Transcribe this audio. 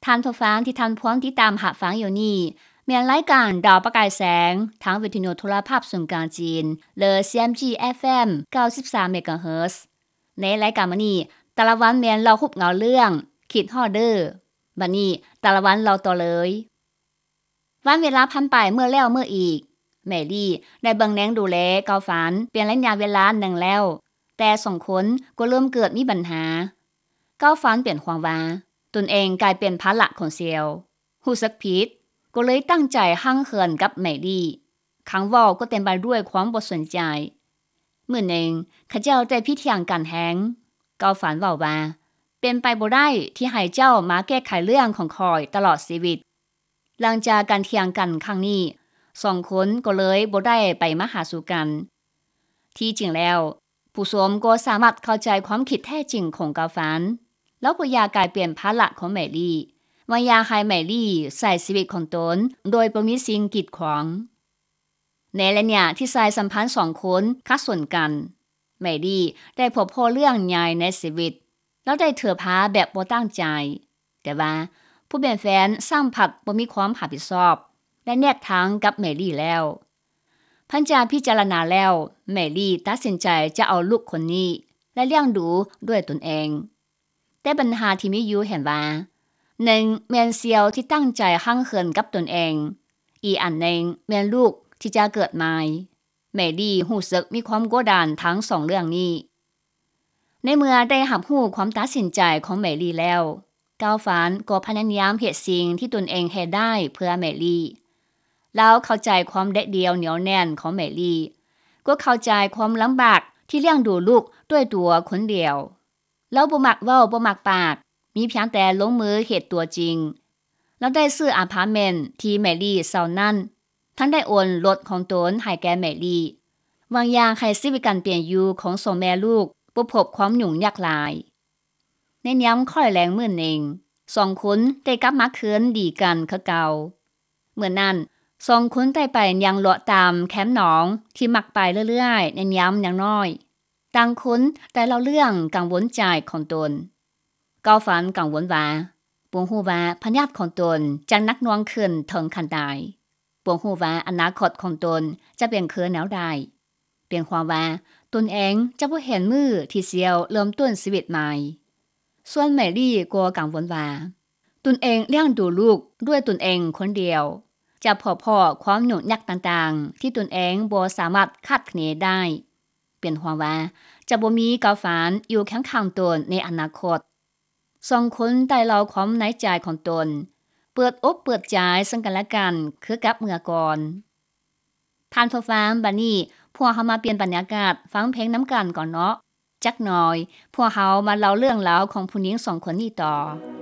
ທ່ານຜູ້ຟັງທີ່ທ່ານພວມຕິດຕາມຮັບຟັງຢູ່ນີ້ ແມ່ນລາຍການດາວປະກາຍແສງ ທາງວິທະຍຸໂທລະພາບສູນກາງຈີນ ຫຼື CMG FM ເກົ້າສິບສາ MHz. ໃນລາຍການມື້ນີ້ ແຕ່ລະວັນແມ່ນເລົ່າຮູບເງົາເລື່ອງ ຄິດຮອດເດີ. ບັດນີ້ ແຕ່ລະວັນເລົ່າຕໍ່ເລີຍ. ວັນເວລາຜ່ານໄປເມື່ອແລ້ວເມື່ອອີກ. ແມຣີໄດ້ເບິ່ງແຍງດູແລເກົາຟານເປັນໄລຍະເວລາໜຶ່ງແລ້ວ, ແຕ່ສອງຄົນກໍເລີ່ມເກີດມີບັນຫາ. ເກົາຟານເປັນຫ່ວງວ່າຕົນເອງກາຍເປັນພາລະຂອງເຊວ, ຮູ້ສຶກຜິດ, ກໍເລີຍຕັ້ງໃຈຮັ່ງເຫີນກັບແມຣີ. ຄຳເວົ້າກໍເຕັມໄປດ້ວຍຄວາມບໍ່ສົນໃຈ. ມື້ໜຶ່ງ, ເຂົາເຈົ້າໄດ້ຜິດຖຽງກັນແຮງ. ເກົາຟານເວົ້າວ່າ, ເປັນໄປບໍ່ໄດ້ທີ່ໃຫ້ເຈົ້າມາແກ້ໄຂເລື່ອງຂອງຂ້ອຍຕະຫຼອດຊີວິດ. ຫຼັງຈາກການຖຽງກັນຄັ້ງນີ້, ສອງຄົນກໍເລີຍບໍ່ໄດ້ໄປມາຫາສູ່ກັນ. ທີ່ຈິງແລ້ວ, ຜູ້ຊົມກໍສາມາດເຂົ້າໃຈຄວາມຄິດແທ້ຈິງຂອງເກົາຟານ. ລາວບໍ່ຢາກກາຍເປັນພາລະຂອງແມຣີ, ວ່າຢາກໃຫ້ແມຣີໃຊ້ຊີວິດຂອງຕົນໂດຍບໍ່ມີສິ່ງກີດຂວາງ. ໃນໄລຍະທີ່ສາຍສຳພັນສອງຄົນຂັດສົນກັນ, ແມຣີໄດ້ພົບພໍ້ເລື່ອງໃຫຍ່ໃນຊີວິດ. ລາວໄດ້ຖືພາແບບບໍ່ຕັ້ງໃຈ, ແຕ່ວ່າຜູ້ເປັນແຟນຊ້ຳພັດບໍ່ມີຄວາມຮັບຜິດຊອບ ແລະ ແຍກທາງກັບແມຣີແລ້ວ. ຫຼັງຈາກພິຈາລະນາແລ້ວ, ແມຣີຕັດສິນໃຈຈະເອົາລູກຄົນນີ້ ແລະ ລ້ຽງດູດ້ວຍຕົນເອງ. ແຕ່ບັນຫາທີ່ມີຢູ່ແມ່ນວ່າ, ໜຶ່ງແມ່ນເຊວທີ່ຕັ້ງໃຈຮັ່ງເຫີນກັບຕົນເອງ, ອີກອັນໜຶ່ງແມ່ນລູກທີ່ຈະເກີດໃໝ່. ແມຣີຮູ້ສຶກມີຄວາມກົດດັນທັງສອງເລື່ອງນີ້. ໃນເມື່ອໄດ້ຮັບຮູ້ຄວາມຕັດສິນໃຈຂອງແມຣີແລ້ວ, ເກົາຟານກໍພະຍາຍາມເຮັດສິ່ງທີ່ຕົນເອງເຮັດໄດ້ເພື່ອແມຣີ. ລາວເຂົ້າໃຈຄວາມເດັດດ່ຽວໜຽວແໜ້ນຂອງແມຣີ, ກໍເຂົ້າໃຈຄວາມລຳບາກທີ່ລ້ຽງດູລູກດ້ວຍຕົວຄົນດຽວ. ລາວບໍ່ມັກເວົ້າ, ບໍ່ມັກປາກ, ມີພຽງແຕ່ລົງມືເຮັດຕົວຈິງ. ລາວໄດ້ຊື້ອາພາດເມັນທີ່ແມຣີເຊົ່ານັ້ນ, ທັງໄດ້ໂອນລົດຂອງຕົນໃຫ້ແກ່ແມຣີ, ຫວັງຢາກໃຫ້ຊີວິດການເປັນຢູ່ຂອງສອງແມ່ລູກບໍ່ພົບຄວາມຫຍຸ້ງຍາກຫຼາຍ. ໃນຍາມຄ້ອຍແລງມື້ໜຶ່ງ, ສອງຄົນໄດ້ກັບມາຄືນດີກັນຄືເກົ່າ. ມື້ນັ້ນ, ສອງຄົນໄດ້ໄປຍ່າງເລາະຕາມແຄມໜອງທີ່ມັກໄປເລື້ອຍໆໃນຍາມຍັງນ້ອຍ. ຕ່າງຄົນໄດ້ເລົ່າເລື່ອງກັງວົນໃຈຂອງຕົນ. ເກົາຟານກັງວົນວ່າ, ບໍ່ຮູ້ວ່າພະຍາດຂອງຕົນຈະໜັກໜ່ວງຂຶ້ນເຖິງຂັ້ນໃດ. ບໍ່ຮູ້ວ່າອະນາຄົດຂອງຕົນຈະເປັນຄືແນວໃດ. ເປັນຫ່ວງວ່າຕົນເອງຈະບໍ່ເຫັນມື້ທີ່ເຊວເລີ່ມຕົ້ນຊີວິດໃໝ່. ສ່ວນແມຣີກໍກັງວົນວ່າ ຕົນເອງລ້ຽງດູລູກດ້ວຍຕົນເອງຄົນດຽວ, ຈະພົບພໍ້ຄວາມຫຍຸ້ງຍາກຕ່າງໆທີ່ຕົນເອງບໍ່ສາມາດຄາດຄະເນໄດ້. ເປັນຫ່ວງວ່າຈະບໍ່ມີເກົາຟານຢູ່ຄຽງຂ້າງຕົນໃນອະນາຄົດ. ສອງຄົນໄດ້ເລົ່າຄວາມໃນໃຈຂອງຕົນ, ເປີດອົກເປີດໃຈເຊິ່ງກັນແລະກັນຄືກັບເມື່ອກ່ອນ. ທ່ານຜູ້ຟັງ, ບັດນີ້ພວກເຮົາມາປ່ຽນບັນຍາກາດຟັງເພງນຳກັນກ່ອນເນາະ. ຈັກໜ່ອຍ, ພວກເຮົາມາເລົ່າເລື່ອງລາວຂອງຜູ້ຍິງສອງຄົນນີ້ຕໍ່.